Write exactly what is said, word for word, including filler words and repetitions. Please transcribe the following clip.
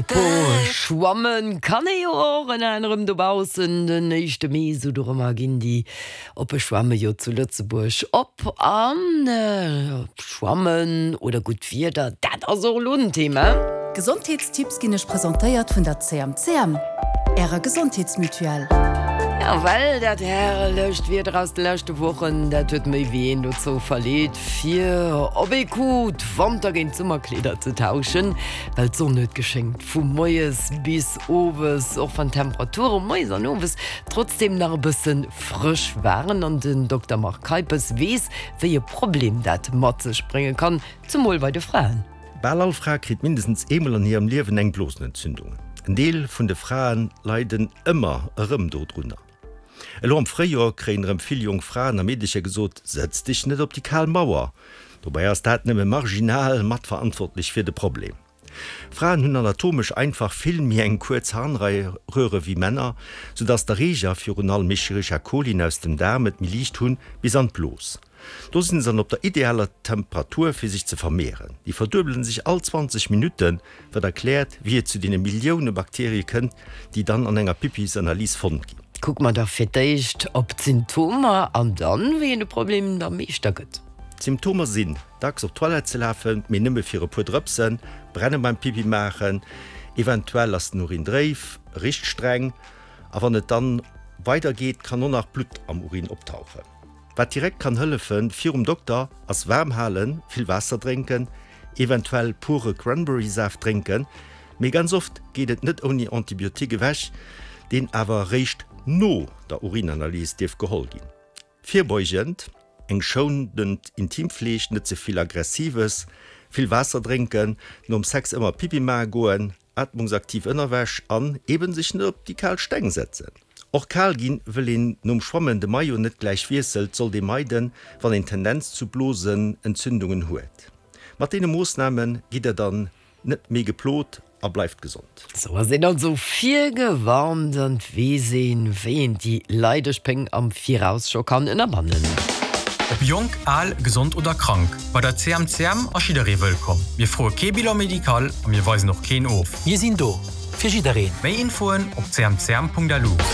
Apropos schwammen, kann ee jo och ënner anerem dobaussen den éischte Mee, sou dorëmmer ginn déi oppe Schwamme jo zu Lëtzebuerg op. An schwammen oder gutt Wieder, dat ass och elo en Thema. Gesondheetstipps ginn iech presentéiert vun der C M C M, ärer Gesondheetsmutuelle. Ja, well dat herrlecht Wieder aus de leschte Wochen, dat huet méi wéi een dozou verleet, fir op ee Coup d'Wanter géint d'Summerkleeder ze tauschen, well d'Sonn huet geschéngt vu moies bis owes, och wann d'Temperature moies an owes trotzdeem nach e bësse frësch waren. An den Dokter Marc Keipes weess, wéi e Problem dat mat sech brénge kann, zemol bei de Fraen. Bal all Fra kritt mindestens eemol an hirem Liewen eng Blosenentzündung. En Deel vun de Frae leiden ëmmer erëm dodrunner. Elo am Fréijoer kréien erëm vill jonk Fraen a Meedercher gesot, Sëtz dech net op déi kal Mauer. Dobäi ass dat nëmme marginal matverantwortlech fir de Problem. Fraen hunn anatomesch einfach vill méi eng kuerz Harnröre wéi Männer, soudass d'Erreeger, virun allem Escherichia coli aus dem Daarm, et méi liicht hunn bis an d'Blos. Do sinn se dann op der idealer Temperatur fir sech ze vermehren. Déi verduebelen sech all zwanzeg Minutten, wat erkläert, wéi et zu deene Millioune Bakterie kënnt, déi dann an enger Pippisanalys fonnt ginn. Kucke mer da fir d'éischt op d'Symptomer an dann, wéi een de Problem da Meeschter gëtt. D'Symptomer sinn, dacks op d'Toilette ze lafen, mee nëmme fir e puer Drëpsen, Brenne beim Pippi maachen, eventuell ass den Urin dréif, richt streng a wann et dann weider geet, kann och nach Blutt am Urin optauchen. Wat direkt kann hëllefen, virum Dokter, ass waarm halen, vill Waasser drénken, eventuell pure Cranberry-Saaft drénken, mee ganz oft geet et net ouni Antibiotique ewech, deen awer eréischt no der Urinanalys dierf geholl ginn. Virbeugend, eng schounend Intimpfleeg, net ze vill Aggressives, vill Waasser drénken, nom Sex ëmmer Pippi maache goen, atmungsaktiv Ënnerwäsch an eben sech net op déi kal Steng setzen. Och kal ginn, wëll een nom Schwammen de Maillot net gläich wiesselt, sollt ee meiden, wann een Tendenz zu Blosenentzündungen huet. Mat deene Moossname gitt der dann net méi geplot a bleift gesond. Sou ass een also virgewarnt an et weess een, wéi een déi leideg Péng am Viraus scho kann ënnerbannen. Ob jonk, al, gesond oder krank, bei der C M C M ass jidderee wëllkomm. Mir froe kee Bilan médical a mir weisen och keen of. Mir sinn do fir jiddereen. Méi Infoen op C M C M Punkt L U.